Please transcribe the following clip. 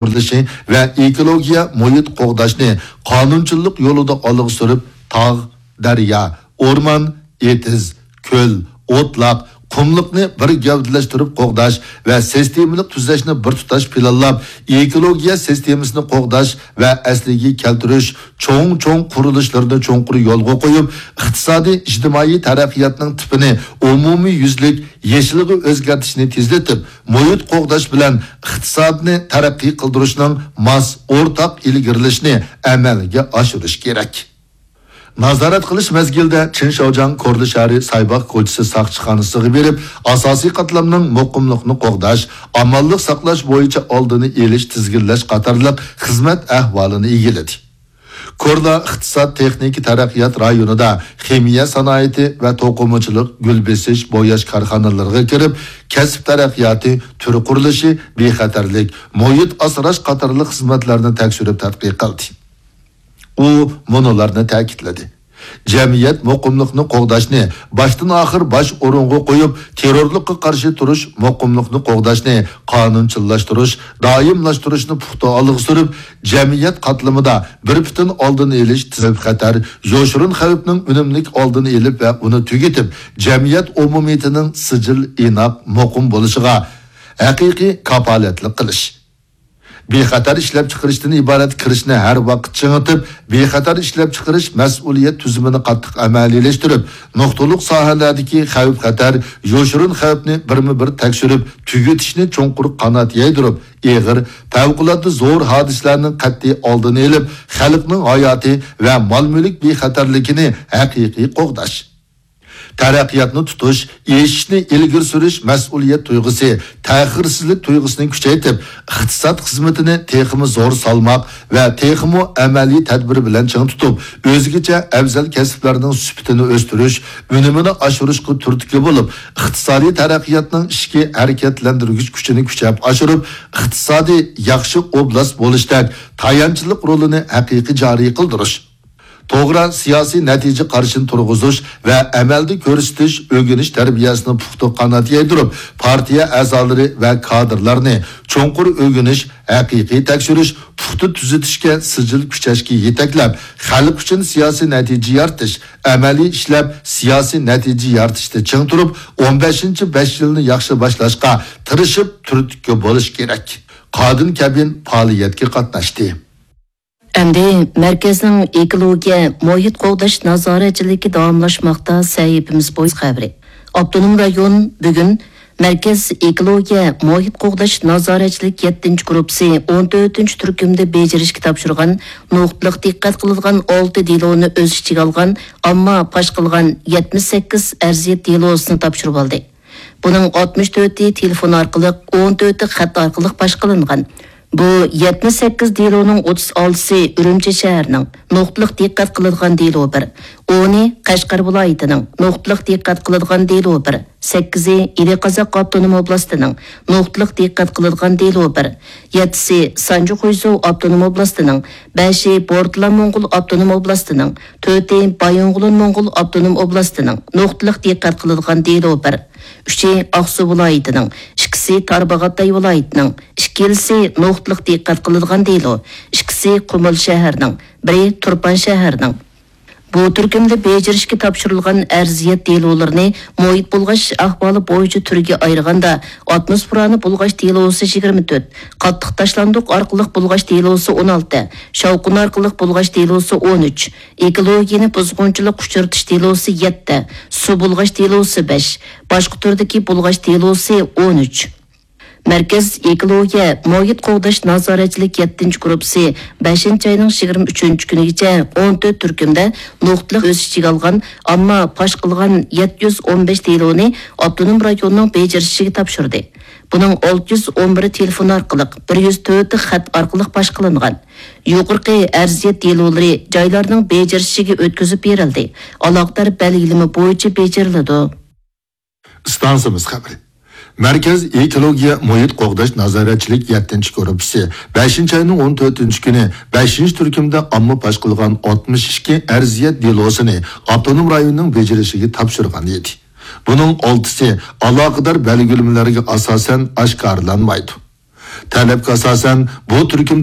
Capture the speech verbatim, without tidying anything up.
قۇرۇلۇشى ۋە ئېكولوگىيە مۇھىت قوغداشنى قانۇنچىللىق يولىدا ئالغا سۈرۈپ، تاغ، دەريا، ئورمان، ئېتىز، كۆل، ئوتلاق، قۇملۇقنى بىر گەۋدىلەشتۈرۈپ قوغداش ۋە سىستېمىلىق تۈزەشنى بىر تۇتاش پىلانلاپ، ئېكولوگىيە سىستېمىسىنى قوغداش ۋە ئەسلىگە كەلتۈرۈش چوڭ-چوڭ قۇرۇلۇشلىرىنى چوڭقۇر يولغا قويۇپ، ئىقتىسادىي، ئىجتىمائىي تەرەققىياتنىڭ تىپىنى ئومۇميۈزلۈك يېشىلغا ئۆزگەرتىشنى تېزلىتىپ، مۇھىت قوغداش بىلەن ئىقتىسادنى تەرەققىي قىلدۇرۇشنىڭ ماس ئورتاق ئىلگىرىلىشىنى ئەمەلگە ئاشۇرۇش كېرەك. نازارەت قىلىش مەزگىلىدە چىن شاۋجياڭ كورلا شەھىرى سايباغ كوچىسى ساقچىخانىسىغا بېرىپ، ئاساسىي قاتلامنىڭ مۇقىملىقىنى قوغداش، ئامانلىق ساقلاش بويىچە ئالدىنى ئېلىش، تىزگىنلەش قاتارلىق خىزمەت ئەھۋالىنى ئىگىلىدى. كورلا ئىقتىساد، تېخنىكا تەرەققىيات رايونىدا خىمىيە سانائىتى ۋە توقۇمىچىلىق، گۈل بېسىش، بوياش كارخانىلىرىغا كىرىپ، كەسىپ تەرەققىياتى، تۈر قۇرۇلۇشى، بىخەتەرلىك، مۇھىت ئاسراش قاتارلىق خىزمەتلەرنى تەكشۈرۈپ تەتقىق قىلدى. ئۇ مۇنۇلارنى تەكىتلىدى: جەمئىيەت مۇقىملىقىنى قوغداشنى باشتىن ئاخىر باش ئورۇنغا قويۇپ، تېررورلۇققا قارشى تۇرۇش، مۇقىملىقنى قوغداشنى قانۇنچىللاشتۇرۇش، دائىملاشتۇرۇشنى پۇختا ئالغا سۈرۈپ، جەمئىيەت قاتلىمىدا بىر پۈتۈن ئالدىنى ئېلىش، تىزىم خەتەر، يوشۇرۇن خەۋپنىڭ ئۈنۈملۈك ئالدىنى ئېلىپ ۋە ئۇنى تۈگىتىپ، جەمئىيەت ئومۇمىيىتىنىڭ سىجىل، ئىناق، مۇقىم بولۇشىغا ھەقىقىي كاپالەتلىك قىلىش. بىخەتەر ئىشلەپچىقىرىشتىن ئىبارەت كىرىشنى ھەر ۋاقىت چىڭىتىپ، بىخەتەر ئىشلەپچىقىرىش مەسئۇلىيەت تۈزۈمىنى قاتتىق ئەمەلىيلەشتۈرۈپ، نۇقتىلىق ساھەلەردىكى خەۋپ-خەتەر، يوشۇرۇن خەۋپنى بىرمۇ بىر تەكشۈرۈپ تۈگىتىشنى چوڭقۇر قانات يايدۇرۇپ، ئېغىر، پەۋقۇلئاددە زور ھادىسىلەرنىڭ قەتئىي ئالدىنى ئېلىپ، خەلقنىڭ ھاياتى ۋە مال-مۈلۈك بىخەتەرلىكىنى ھەقىقىي قوغداش. تەرەققىياتنى تۇتۇش، ئېشىشنى ئىلگىرى سۈرۈش مەسئۇلىيەت تۇيغۇسى، تەخىرسىزلىك تۇيغۇسىنى كۈچەيتىپ، ئىقتىساد خىزمىتىنى تېخىمۇ زور سالماق ۋە تېخىمۇ ئەمەلىي تەدبىر بىلەن چىڭ تۇتۇپ، ئۆزگىچە ئەۋزەل كەسىپلەرنىڭ سۈپىتىنى ئۆستۈرۈش، ئۈنۈمىنى ئاشۇرۇشقا تۈرتكە بولۇپ، ئىقتىسادىي تەرەققىياتنىڭ ئىچكى ھەرىكەتلەندۈرگۈچ كۈچىنى كۈچەپ ئاشۇرۇپ، ئىقتىسادىي ياخشى ئوبلاست بولۇشتەك تايانچلىق رولىنى ھەقىقىي جارى قىلدۇرۇش. توغرا سىياسىي نەتىجە قارىشىنى تۇرغۇزۇش ۋە ئەمەلدە كۆرسىتىش، ئۆگىنىش تەربىيەسىنى پۇختا قانات يايدۇرۇپ، پارتىيە ئەزالىرى ۋە كادىرلارنى چوڭقۇر ئۆگىنىش، ھەقىقىي تەكشۈرۈش، پۇختا تۈزىتىشكە سىجىل كۈچەشكە يېتەكلەپ، خەلق ئۈچۈن سىياسىي نەتىجە يارىتىش، ئەمەلىي ئىشلەپ سىياسىي نەتىجە يارىتىشتا چىڭ تۇرۇپ، ئون بەشىنچى بەش يىلنى ياخشى باشلاشقا تىرىشىپ تۈرتكە بولۇش كېرەك. قادىن كەبىن پائالىيەتكە قاتناشتى. ئەمدى مەركەزنىڭ ئېكولوگىيە، مۇھىت قوغداش نازارەتچىلىكى داۋاملاشماقتا سەھىپىمىز بويىچە خەۋىرى. ئاپتونوم رايون بۈگۈن مەركەز ئېكولوگىيە، مۇھىت قوغداش نازارەتچىلىك يەتتىنچى گۇرۇپپىسى ئون تۆتىنچى تۈركۈمدە بېجىرىشكە تاپشۇرغان نۇقتىلىق دىققەت قىلىدىغان ئالتە دېلونى ئۆز ئىچىگە ئالغان ئامما پاش قىلغان يەتمىش سەككىز ئەرزىيەت دېلوسىنى تاپشۇرۇۋالدى. بۇنىڭ ئاتمىش تۆتى تېلېفون ئارقىلىق، ئون تۆتى خەت ئارقىلىق پاش قىلىنغان. بۇ يەتمىش سەككىز دېلونىڭ ئوتتۇز ئالتىسى ئۈرۈمچى شەھىرىنىڭ نۇقتىلىق دىققەت قىلىدىغان دېلو بىر، ئونى قەشقەر ۋىلايىتىنىڭ نۇقتىلىق دىققەت قىلىدىغان دېلو بىر، سەككىزى ئىلى قازاق ئاپتونوم ئوبلاستىنىڭ نۇقتىلىق دىققەت قىلىدىغان دېلو بىر، يەتتىسى سانجى خۇيزۇ ئاپتونوم ئوبلاستىنىڭ، بەشى بورتالا موڭغۇل ئاپتونوم ئوبلاستىنىڭ، تۆتى بايىنغولىن موڭغۇل ئاپتونوم ئوبلاستىنىڭ نۇقتىلىق دىققەت قىلىدىغان دېلو بىر، ئۈچى ئاقسۇ ۋىلايىتىنىڭ، ئىككىسى تارباغاتاي ۋىلايىتىنىڭ، ئىككىلىسى نۇقتىلىق دىققەت قىلىدىغان دېلو، ئىككىسى قۇمۇل شەھىرىنىڭ، بىرى تۇرپان شەھىرىنىڭ. بۇ تۈركۈمدە بېجىرىشكە تاپشۇرۇلغان ئەرزىيەت دېلولىرىنى مۇھىت بۇلغاش ئەھۋالى بويىچە تۈرگە ئايرىغاندا، ئاتموسفېرانى بۇلغاش دېلوسى يىگىرمە تۆت، قاتتىق تاشلاندۇق ئارقىلىق بۇلغاش دېلوسى ئون ئالتە، شاۋقۇن ئارقىلىق بۇلغاش دېلوسى ئون ئۈچ، ئېكولوگىيەنى بۇزغۇنچىلىق ئۇچرىتىش دېلوسى يەتتە، سۇ بۇلغاش دېلوسى بەش، باشقا تۈردىكى بۇلغاش دېلوسى ئون ئۈچ. مەركەز ئېكولوگىيە، مۇھىت قوغداش نازارەتچىلىك يەتتىنچى گۇرۇپپىسى بەشىنچى ئاينىڭ يىگىرمە ئۈچىنچى كۈنىگىچە ئون تۆت تۈركۈمدە نۇقتىلىق ئۆز ئىچىگە ئالغان، ئامما پاش قىلغان يەتتە يۈز ئون بەش دېلونى ئاپتونوم رايوننىڭ بېجىرىشىگە تاپشۇردى. بۇنىڭ ئالتە يۈز ئون بىرى تېلېفون ئارقىلىق، بىر يۈز تۆتى خەت ئارقىلىق پاش قىلىنغان. يۇقىرىقى ئەرزىيەت دېلولىرى جايلارنىڭ بېجىرىشىگە ئۆتكۈزۈپ بېرىلدى، ئالاقىدار بەلگىلىمە بويىچە بېجىرىلىدۇ. ئىستانسىمىز خەۋىرى. مەركەز ئېكولوگىيە مۇھىت قوغداش نازارەتچىلىك يەتتىنچى گۇرۇپپىسى بەشىنچى ئاينىڭ ئون تۆتىنچى كۈنى بەشىنچى تۈركۈمدە ئامما پاش قىلغان ئاتمىش ئىككى ئەرزىيەت دېلوسىنى ئاپتونوم رايوننىڭ بېجىرىشىگە تاپشۇرغان ئىدى. بۇنىڭ ئالتىسى ئالاقىدار بەلگىلىمىلەرگە ئاساسەن ئاشكارىلانمايدۇ. تەلەپكە ئاساسەن، بۇ تۈركۈم